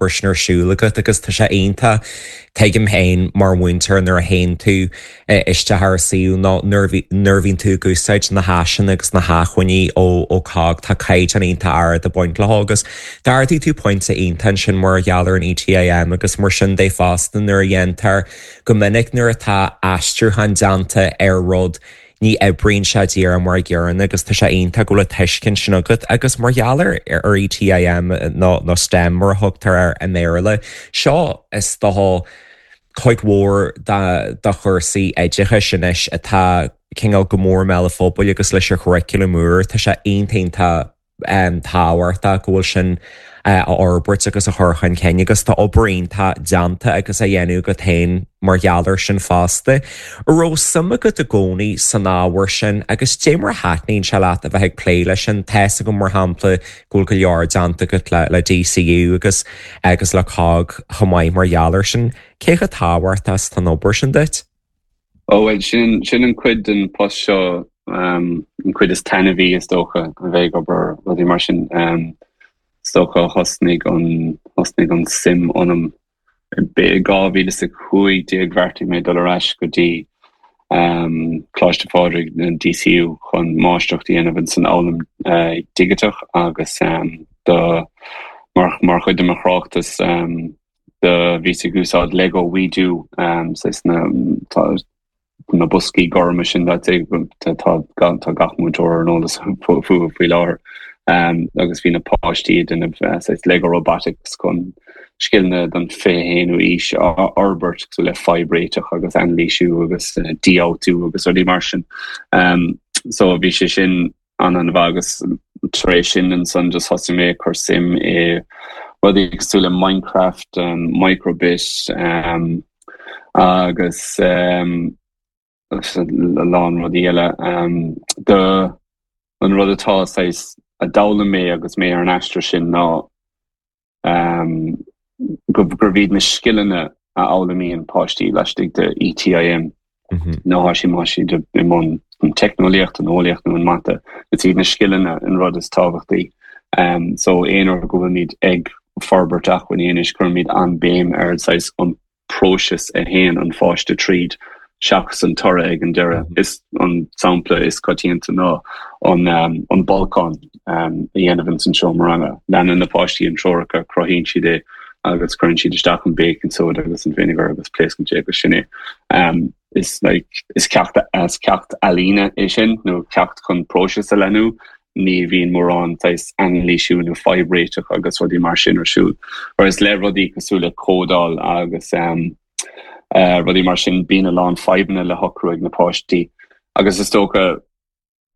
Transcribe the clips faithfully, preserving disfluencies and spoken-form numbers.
obair sin ar siúl agat agus tá sé iontach tuigim féin mar mhúinteoir nuair a théann tú isteach ar suíomh nó nuair a bhíonn tú ag úsáid na háiseanna agus na hacmhainní ó ó COGG tá caighdeán iontach ard ag baint leo agus d'ardaigh tú pointe iontach ansin mar gheall ar an ETIM agus mar sin de fosta nuair a dhéantar go minic nuair atá aistriúchán déanta ar rud ní oibríonn sé díreach mar an gcéanna agus tá sé iontach go bhfuil tuiscint sin agat agus mar gheall ar ar ETIM nó nó STEM mar a thugtar air i mBéarla. Seo is dócha cuid mhór de chúrsaí oideachais anois atá cineál go mór i mbéal an phobail agus leis an churriculum úr tá sé iontach tábhachtach go bhfuil sin a fhorbairt agus a chur chun cinn agus tá obair iontach déanta agus á dhéanamh agat féin mar gheall air sin fosta. Raibh suim agat i gcónaí san ábhar sin agus dé mar a thaitníonn sé leat a bheith ag plé leis sin tá a fhios agam mar shampla go bhfuil go leor déanta agat le le DCU agus agus le COGG chomh maith mar gheall air sin, cé chomh tábhachtach is atá an obair sin duit? Ó well sin sin an cuid den post seo um, an cuid is taitneamhaí is dócha a bheith ag obair rudaí mar sin um, is dócha thosnaigh an thosnaigh an suim ionam i dhá mhíle is a cúig déag bheartaigh mé dul ar ais go dtí um, Coláiste Phádraig na DCU chun máistreacht a dhéanamh san fhoghlaim uh, digiteach agus um, do mar mar chuid de mo thráchtas um, do bhíos ag úsáid Lego WeDo um, na tá na boscaí gorma sin tá tá gach múinteoir ar an eolas fúthu faoi láthair. Um, agus bhí na páistí déanamh uh, Lego robotics chun scileanna don fiche haonú aois a fhorbairt so le fadhbréiteach agus anailísiú agus uh, dífhabhtú agus rudaí mar sin. Um, so bhí sé sin an an agus tar éis sin ansan just thosaigh mé cur suim i rudaí cosúil le Minecraft um, micro:bit um, agus um, a lán rudaí eile um, do an rud atá a d'fhoghlaim mé agus mé ar an aistear sin ná um, gur iad na scileanna a fhoghlaimíonn páistí laistigh de ETIM mm -hmm. nó si má siad i mbun an teicneolaíocht an eolaíocht nó an mata is iad na scileanna an rud is tábhachtaí um, so aon uair go bhfuilmid ag forbairt acmhainní anois cuirimid an béim ar an próiseas a théann an pháiste tríd seachas an toradh ag an deireadh mm -hmm. is an sampla is coitianta ná an um, an bolcán um, a dhéanamh san seomra ranga. Leanann na páistí an treoracha cruthaíonn siad é agus cuireann siad isteach an baking soda agus an vinegar agus pléascann sé agus sin é. Um, is like, is ceacht as ceacht ealaíne é sin nó ceacht chun próiseas a leanúint ní bhíonn mórán anailísiú nó fadhbréiteach agus rudaí mar sin ar siúl. Whereas le rudaí cosúil le códáil agus um, uh, rudaí mar sin bíonn a lán fadhbanna le socrú ag na páistí. Agus is dócha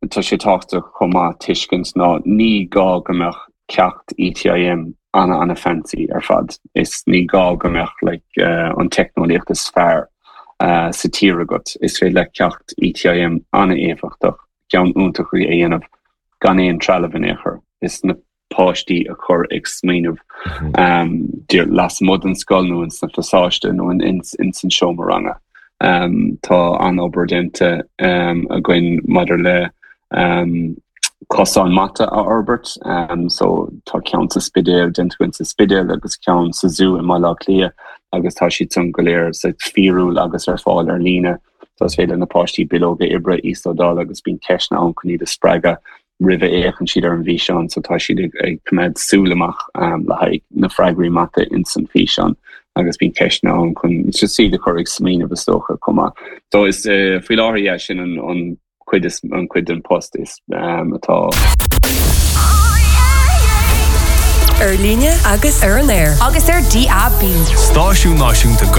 tá sé tábhachtach chomh maith tuiscint ná ní gá go mbeadh ceacht ETIM ana ana fancy ar fad. Is ní gá go mbeadh like, uh, an teicneolaíocht is fearr uh, sa tír agat. Is féidir le ceacht ETIM an-éifeachtach ceann iontach a dhéanamh gan aon trealamh in aon chor. Is na páistí a chur ag smaoineamh mm -hmm. um, lasmuigh den scoil nó in sna phasáiste nó in, in, in san seomra ranga. Um, tá an obair déanta um, againn maidir le um, cosán mata a fhorbairt um, so tá ceann sa Spidéal déanta sa Spidéal agus ceann sa zú i mBaile Átha Cliath agus tá siad san go léir sa fíorúil agus ar fáil ar líne so is féidir na páistí bileoga oibre íoslódáil agus bíonn ceisteanna ann chun iad a spreagadh roimh a fhéachann siad ar an bhfíseán so tá siad ag, ag coimeád súil amach um, le haghaidh na freagraí mata in san físeán agus bíonn ceisteanna ann chun just iad a chur ag smaoineamh is dócha chomh maith. So is uh, faoi láthair sin an, an cuid is an cuid den post is um, atá. Ar líne agus ar an aer. Agus ar DAB. Stáisiún Náisiúnta